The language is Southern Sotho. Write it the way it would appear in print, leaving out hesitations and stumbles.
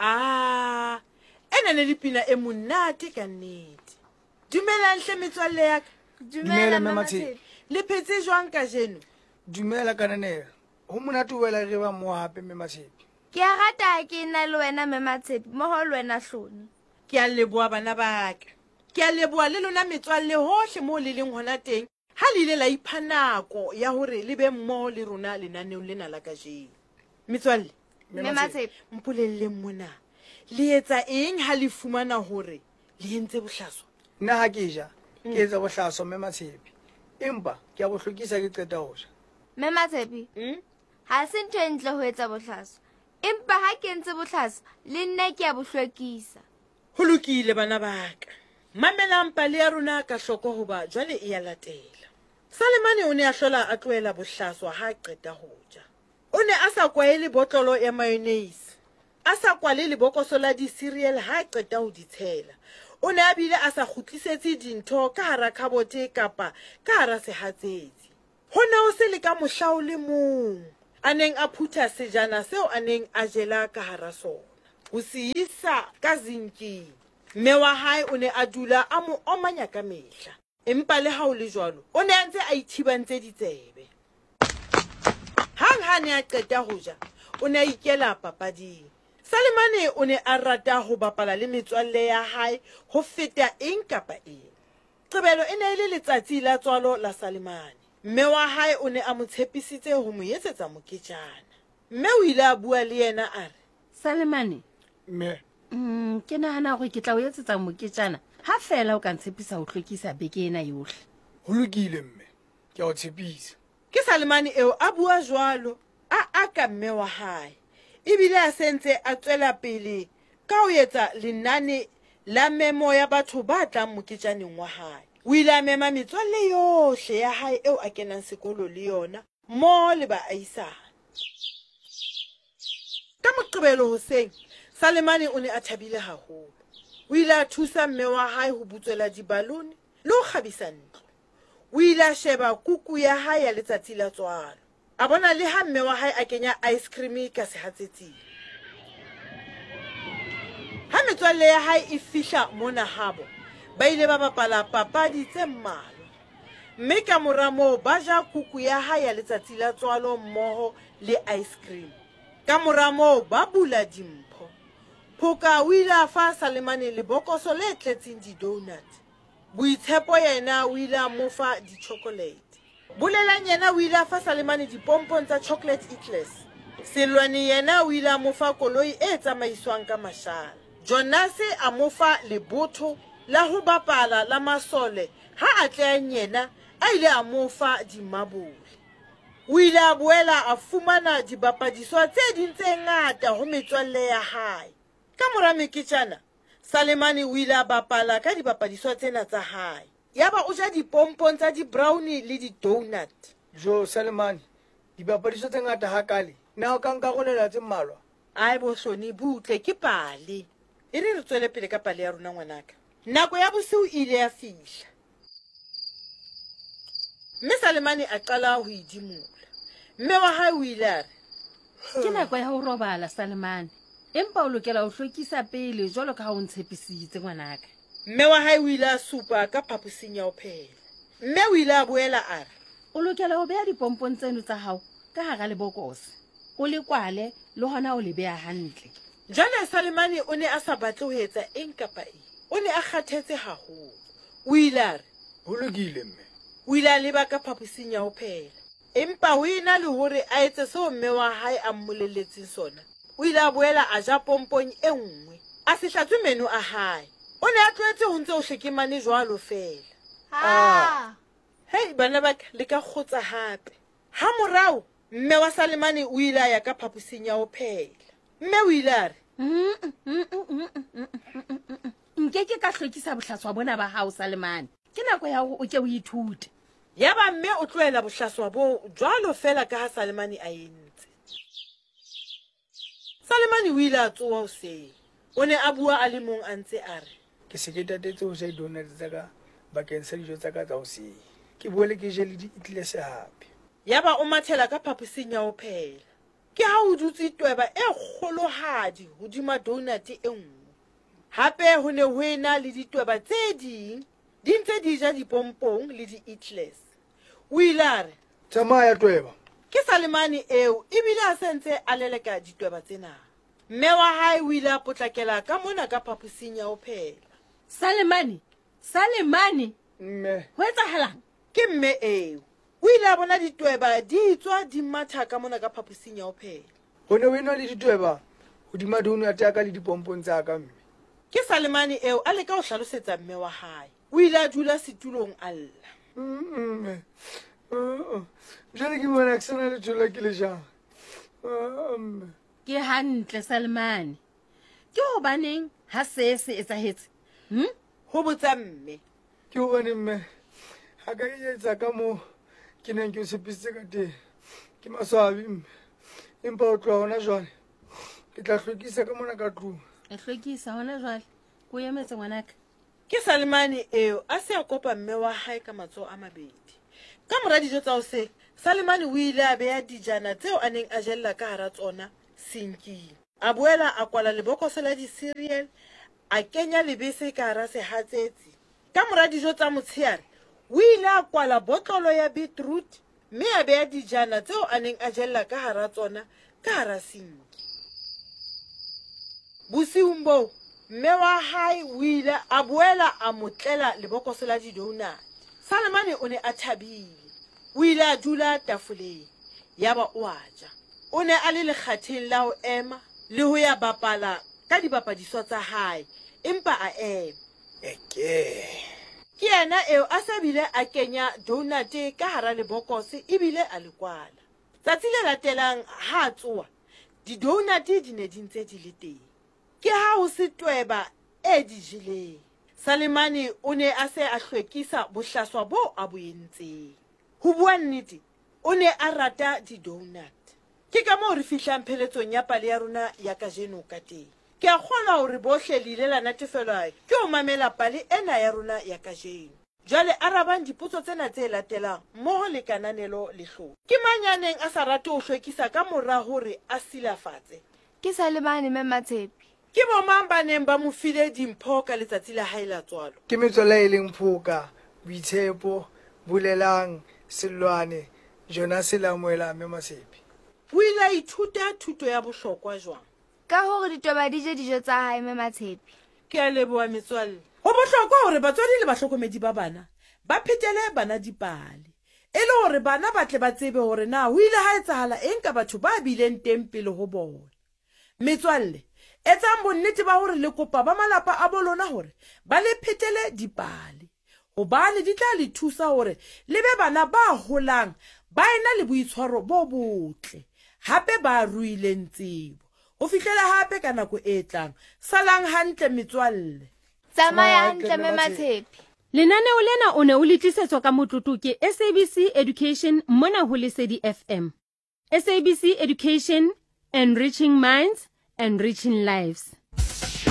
A ena ne le pina e monate ka nnete. Dumelang hle metswalle ya ka. Dumela, Mme Matshepe. Le phetse jwang kajeno? Dumela Kananelo. Ho monate ho boela re ba mmoho hape, Mme Matshepe. Ke a rata ha ke ena le wena, Mme Matshepe, mmoho le wena Hloni. Ke a leboha bana ba ka. Ke a leboha le lona metswalle hohle moo le leng hona teng ha le ile la ipha nako ya hore le be mmoho le rona lenaneong lena la kajeno. Metswalle, Mme Matshepe. mpolelleng mona, le etsa eng ha le fumana hore le entse bohlaswa? Nna ha ke ja, ke etsa bohlaswa, Mme Matshepe. Empa ke a bo hlwekisa ke qeta ho ja. Mme Matshepe, ha se ntho e ntle ho etsa bohlaswa. Empa ha ke entse bohlaswa, le nna ke a bo hlwekisa. Ho lokile bana ba ka. Mamelang pale ya rona ka hloko hoba jwale e ya latela. Salemane o ne a hlola a tlohela bohlaswa ha a qeta ho ja. O ne a sa kwaele botlolo ya mayonnaise, a sa kwale lebokoso la di-cereal ha a qeta ho di tshela. O ne a bile a sa kgutlisetse dintho ka hara khabote kapa ka hara sehatsetsi. Ho ne ho se le ka mohla o le mong a neng a phutha sejana seo a neng a jela ka hara sona ho se isa ka zinking. Mme wa hae o ne a dula a mo omanya ka mehla. Empa le ha ho le jwalo, o ne a ntse a ithibantse ditsebe. Hang ha a ne a qeta ho ja, o ne a ikela papading. Salemane o ne a rata ho bapala le metswalle ya hae ho feta eng kapa eng. Qebelo e ne e le letsatsi la tswalo la Salemane. Mme wa hae o ne a mo tshepisitse ho mo etsetsa moketjana. Mme o ile a bua le yena a re. Salemane. Mme. Ke nahana hore ke tla o etsetsa moketjana ha feela o ka ntshepisa ho hlwekisa beke ena yohle. Ho lokile, mme. Ke a o tshepisa. Ke Salemane eo a bua jwalo, a aka mme wa hae. Ebile a se ntse a tswela pele ka ho etsa lenane la memo ya batho ba tlang moketjaneng wa hae. O ile a mema metswalle yohle ya hae eo a kenang sekolo le yona mmoho le baahisane. Ka Moqebelo hoseng, Salemane o ne a thabile haholo. O ile a thusa mme wa hae ho butswela dibalone le ho kgabisa ntlo. O ile a sheba kuku ya hae ya letsatsi la tswalo. A bona le ha mme wa hae a kenya ice cream ka sehatsetsing. Ha metswalle ya hae e fihla mona habo, ba ile ba bapala papadi tse mmalwa. Mme ka mora moo ba ja kuku ya hae ya letsatsi la tswalo mmoho le ice cream. Ka mora moo ba bula dimpho. Phoka o ile a fa Salemane lebokoso le tletseng di-donut. Boitshepo yena o ile a mo fa di-chocolate. Bolelang yena o ile a fa Salemane dipompong tsa chocolate eclairs. Selwane yena o ile a mo fa koloi e tsamaiswang ka mashala. Jonase a mo fa lebotho la ho bapala la masole ha Atlehang yena a ile a mo fa dimabole. O ile a boela a fumana dibapadiswa tse ding tse ngata ho metswalle ya hae. Ka mora meketjana, Salemane o ile a bapala ka dibapadiswa tsena tsa hae. Yaba o ja dipompong tsa di-brownie le di-donut. Jo, Salemane, dibapadiswa tse ngata hakale, na o ka nkarolela tse mmalwa? Ae bo Hloni, butle, ke pale. E re re tswele pele ka pale ya rona, ngwanaka. Nako ya bosiu e ile ya fihla. Mme Salemane a qala ho idimola. Mme wa hae o ile a re. Ke nako ya ho robala, Salemane. Empa o lokela ho hlwekisa pele jwalo ka ha o ntshepisitse, ngwanaka. Mme wa hae o ile a supa ka phaposing ya ho phehela. Mme o ile a boela a re. O lokela ho beha dipompong tseno tsa hao ka hara lebokose, o le kwale le hona o le beha hantle. Jwale Salemane o ne a sa batle ho etsa eng kapa eng. O ne a kgathetse haholo. O ile a re. Ho lokile, Mme. O ile a leba ka phaposing ya ho phehela. Empa ho ena le hore a etse seo mme wa hae a mmolelletseng sona, o ile a boela a ja pompong e nngwe. A se hlatswe meno a hae. O ne a tlwaetse ho ntse ho hlekemane jwalo feela. Ah! Hei, bana ba ka, le ka kgotsa hape. Hamorao, mme wa Salemane o ile a ya ka phaposing ya ho phehela. Mme o ile a re. Nke ke ka hlwekisa bohlaswa bona ba hao, Salemane. Ke nako ya hore o ke o ithute. Yaba mme o tlohela bohlaswa boo jwalo feela ka ha Salemane a entse. Salemane o ile a tsoha hoseng. O ne a bua a le mong a ntse a re. Ke se ke tatetse ho ja di-donut tsa ka bakeng sa dijo tsa ka tsa hoseng. Ke boele ke je le di-eclairs hape. Yaba o mathela ka phaposing ya ho phehela. Ke ha ho dutse tweba e kgolohadi hodima dounate e nngwe. Hape ho ne ho ena le ditweba tse ding di ntse di ja dipompong le di-eclairs. O ile a re. Tsamaya, tweba. Ke Salemane eo, ebile a se ntse a leleka ditweba tsena. Mme wa hae o ile a potlakela ka mona ka phaposing ya ho phehela. Salemane! Salemane! Mme. Ho etsahalang? Ke mme eo. O ile a bona ditweba di tswa di matha ka mona ka phaposing ya ho phehela. Ho ne ho ena le ditweba hodima dounate ya ka le dipompong tsa ka, mme. Ke Salemane eo a leka ho hlalosetsa mme wa hae. O ile a dula setulong a lla. Mme, jwale ke bona ke sa na letho leo ke le jang. Mme. Ke hantle, Salemane. Ke hobaneng ha see se etsahetse? Hm? Ho botsa mme. Ke hobane mme ha ka ke etsa ka moo ke neng ke o tshepisitse ka teng. Ke maswabi mme. Empa ho tloha hona jwale ke tla hlwekisa ka mona ka tlung. E hlwekisa hona jwale. Ke o emetse ngwanaka. Ke Salemane eo a se a kopa mme wa hae ka matsoho a mabedi. Ka mora dijo tsa hoseng, Salemane o ile a beha dijana tseo a neng a jella ka hara tsona sinking. A boela a kwala lebokoso la di-cereal, a kenya lebese ka hara sehatsetsi. Ka mora dijo tsa motsheare, o ile a kwala botlolo ya beetroot mme a beha dijana tseo a neng a jella ka hara tsona ka hara sinki. Bosiung boo, mme wa hae o ile a boela a mo tlela lebokoso la didounate. Salemane o ne a thabile. O ile a dula tafoleng yaba o a ja. O ne a le lekgatheng la ho ema le ho ya bapala ka dibapadiswa tsa hae, empa a ema. Eke. Ke yena eo a sa bile a kenya dounate ka hara lebokose ebile a le kwala. Tsatsi le latelang ha a tsoha, didounate di ne di ntse di le teng. Ke ha ho se tweba e di jeleng. Salemane o ne a se a hlwekisa bohlaswa boo a bo entseng. Ho bua nnete, o ne a rata di-donut. Ke ka moo re fihlang pheletsong ya pale ya rona ya kajeno ka teng. Ke a kgolwa hore bohle le ile la natefelwa ke ho mamela pale ena ya rona ya kajeno. Jwale arabang dipotso tsena tse latelang mmoho le kananelo le hlolo. Ke mang ya neng a sa rate ho hlwekisa ka mora hore a silafatse? Ke Salemane Mme Matshepe. Ke bomang ba neng ba mo file dimpho ka letsatsi la hae la tswalo? Ke metswalle e leng Phoka, Boitshepo, Bolelang, Sellwane, Jonase le Amoelang Mme Matshepe. O ile a ithuta thuto ya bohlokwa jwang? Ka hore ditweba di je dijo tsa hae Mme Matshepe. Ke a leboha metswalle. Ho bohlokwa hore batswadi le bahlokomedi ba bana ba phetele bana dipale e le hore bana ba tle ba tsebe hore na ho ile ha etsahala eng ka batho ba bileng teng pele ho bona. Metswalle, etsang bonnete ba hore le kopa ba malapa a bo lona hore ba le phetele dipale, hobane di tla le thusa hore le be bana ba holang ba ena le boitshwaro bo botle hape ba ruileng tsebo. Ho fihlela hape ka nako e tlang, salang hantle metswalle. Tsamaya hantle Mme Matshepe. Lenaneo lena o ne o le tlisetswa ka motlotlo ke SABC Education mona ho Lesedi FM. SABC Education, enriching minds, enriching lives.